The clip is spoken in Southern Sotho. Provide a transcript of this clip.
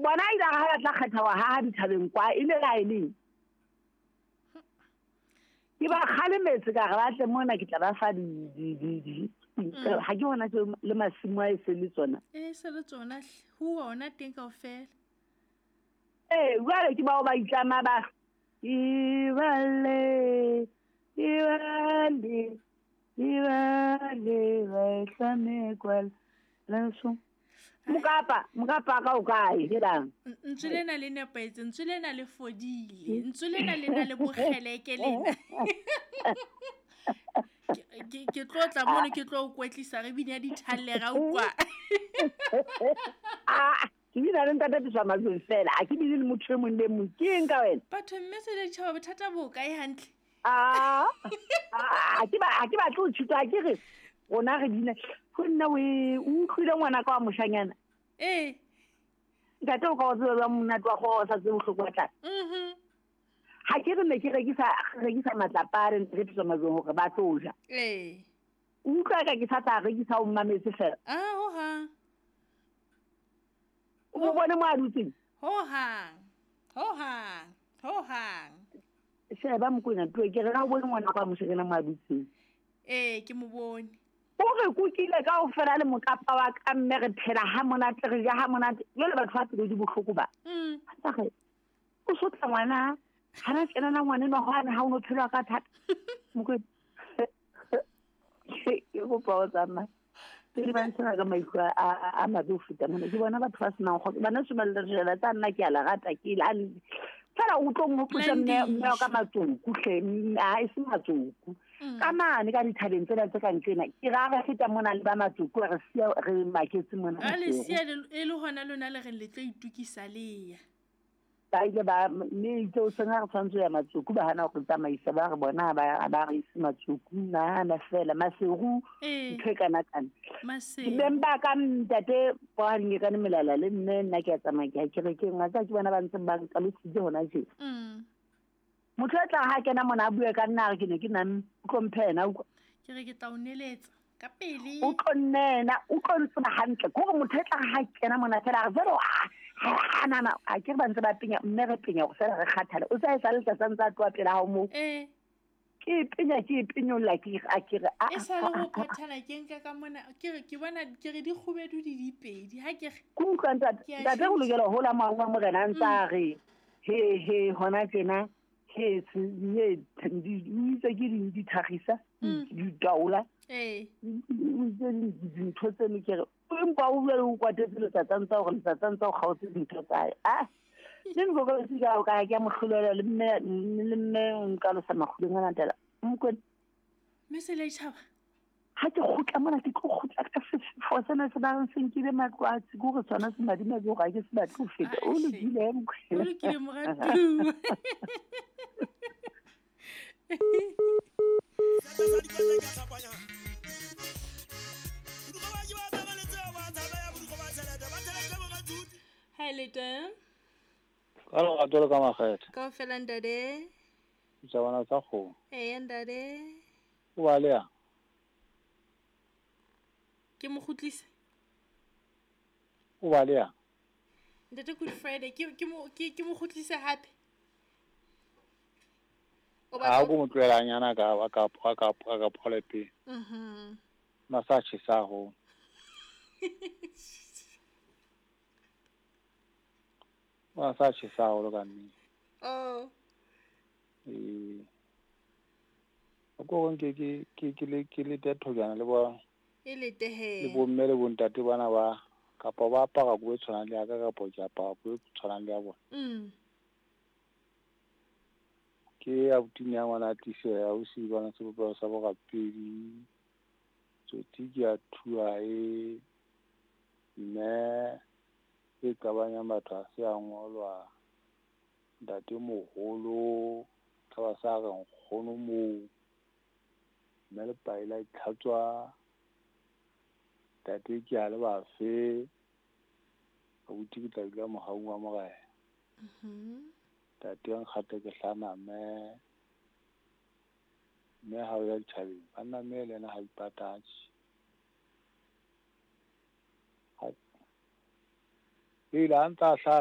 Bona ile ha ba tla kgetha wa haha dithabeng kwa e ne la e leng. Ke ba kgalemetse ka re ba tle mona ke tla ba fa di ha ke hona tje le masimo a e se le tsona. E se le tsona ho ona teng kaofela. Ee, jwale ke bao ba itlama ba ibale ibale ibale ba itlame kwala lenso. Mokapa mokapa ka o kae helang? Ntswe lena le nepahetse, ntswe lena le fodile, ntswe lena le na le bokgeleke lena. Ke tlo tla mono ke tlo o kwetlisa re bine dithalle ra utlwa. Ah, ke bina le ntate Tliswa Majweng fela, ha ke bine le motho e mong le mong. Ke eng ka wena? Batho mme se le ditjhaba bothata bo kae hantle? Ah, ha ke batle ho tshitwa, ha ke re rona re bina. Ho nna o utlwile ngwana ka wa moshanyana? Ee. Ntate o ka o tseba jwang monate wa kgoho o sa tsebe bohloko ba tlala? Ha ke re ne ke rekisa matlapa a re Tliswa Majweng hore ba tlo ja. Ee. O utlwa ka ke sa tla rekisa o mmametse fela. Ah, ho hang. O mo bone mo a dutseng? Ho hang. Ho hang. Ho hang. Sheba Mokwena tloe ke re ha o bone ngwana ka wa moshanyana mo a dutseng. Ee, ke mo bone. O re kukile kaofela le mokapa wa ka mme re phela ha monate re ja ha monate. Jwale batho ba pelo di bohloko ba. Ha re o sotla ngwana, ha na tjena ngwana enwa hwane ha o no phelwa ka thata. Mokwena. Ke kopa o tsamaya. Pele ba ntshena ka maikutlo a mabe ho feta mona. Ke bona batho ba senang kgotso. Bana se ba le tsa nna ke a la rata ke la fela o tlo nghopotsa mme wa ka matsoku hle, ha e se matsoku. Ka mane ka dithabeng tsena tse kang tsena, ke ra re feta mona le ba matsoku re siya re maketse mona. A le siya e le hona lona le reng le tlo itukisa le ya. Ba ile ba mme itse o seng ha re tshwanetse ho ya matsoku ba hana ho re tsamaisa ba re bona ba re ise matsoku nahana fela Maseru ntho e kana kana. Maseru. Beng ba ka ntate ba nyekane melala le mme nna ke a tsamaya ke ya kerekeng wa tseba ke bona ba ntse ba nkalositse hona tje. Motho e tla ha kena mona a bue ka nna a re ke ne ke nang o tlo mphe yena utlwa. Ke re ke tla o neletsa ka pele. O tlo nnena, o tlo ntseba hantle. Ke hore motho e tla ha kena mona fela a re jwale a nana a ke re ba ntse ba penya mme re penya hore fela re kgathale. O tsa e sa letsatsi a ntse a tloha pela hao moo. Ke penya ke penyolla ke a ke re a E sa le ho phathana ke nka ka mona ke re ke bona ke re di kgubedu di dipedi ha ke re. Ke utlwa ntate Ke a ntate ho tjhentjha. lokela ho hola moya wa morena a ntse a re he he hona tjena he he di itse ke di thagisa di taola. O itse dintho tseno ke re empa o bua o kwatetse letsatsi ntse hore letsatsi ntse o kgaotse dintho tsa hae. Ah, le nkoko se ka o ka ke a mo hlolela le mme o nkalosa makguleng a latela. Mokwena. Mme se le tjhaba. Ha ke kgutla mona ke tlo kgutla ka sefefo sena se ba reng se nkile matlwatsi, ke hore sona se madimabe hore ha ke se batle ho feta. O lokile, Mokwena. O lokile, moratuwa. Hi, Leta. Ka lerato le ka makgethe. Kaofela ntate. Ditjhabana tsa kgomo. Eya ntate. O ba le yang? Ke mo kgutlise. O ba le yang? Ntate Good Friday ke mo kgutlise hape. O Ha batla ko mo tlohelanyana ka ka phole pele. Masa tjhesa haholo. Masa tjhesa haholo ka nnete. Oh. Ee. O ko nke ke le thojana le ba E le tehe. Le bo mme le bo ntate bana ba kapa ba apara kobo e tshwanang le ya ka kapa ke apara kobo e tshwanang le ya bona. Ke abuti ya ngwana a tlise ya ausi bana sebopeho sa borapedi. Tsotsi ke a thua e mme e qabanyang batho ha se a ngolwa. Ntate moholo taba sa re nkgono moo. Mme lepai la itlhatswa. Ntate ke a le bafe. Abuti ke tla dula mohaung wa morena. Ntate nkgate ke hlaname. Mme ha o ya dithabeng, banna mme le yena ha ipatatse. Pele a ntsa hlaha.